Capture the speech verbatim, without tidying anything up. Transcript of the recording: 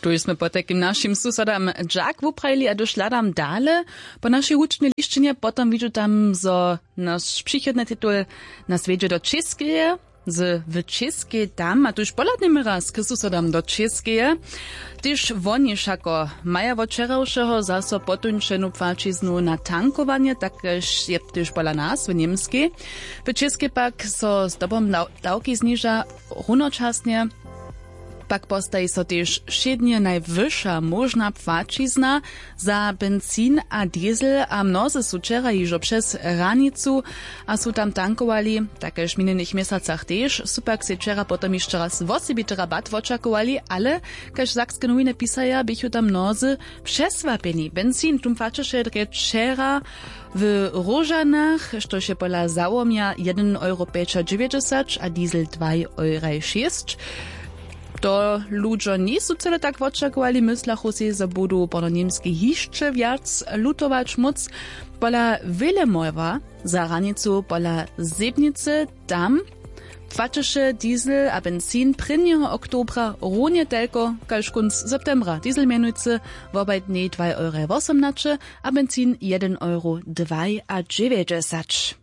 Tuž smy potajkim našim susodam dźak wuprajili a hdyž hladam dale po našej hudźbnej lisćinje, potom widźu tam zo naš přichodny titul nas wjedźe do Čěskeje. Z w Čěskej tam a tuž pohladnjemy raz k susodam do Čěskeje. Tež woni wšako maja wot wčerawšeho zaso potuńšenu płaćiznu na tankowanje, tak kaž je tež pola nas w Němskej. W Čěskej pak so zdobom daw- dawki zniža runočasnje. Pak postaji so tež wšědnje najwyša móžna płaćizna za benzin a diesel a mnozy su wčera hižo přez hranicu a su tam tankowali. Tak kaž w minjenych měsacach tež su pak sej wčera potom hišće raz wosebity rabat wočakowali, ale kaž sakske nowiny pisaja běchu tam mnozy přesłapjeni. Benzin tum płaćeše drje wčera w Róžanach, štož je pola załomja jedyn euro pjećadźewjećdźesać a diesel dwaj euraj šěsć. To ludźo njejsu cyle tak wočakowali, myslachu sej zo budu pono němskej hišće wjac lutować móc. Pola Willemowa za hranicu pola Zebnicy tam płaćeše diesel a benzin prěnjeho oktobra runje telko kaž kónc septembra, diesel mjenujcy wobaj dnjej dwaj euraj wosomnaće a benzin jedyn euro dwaj a dźewjećdźesać.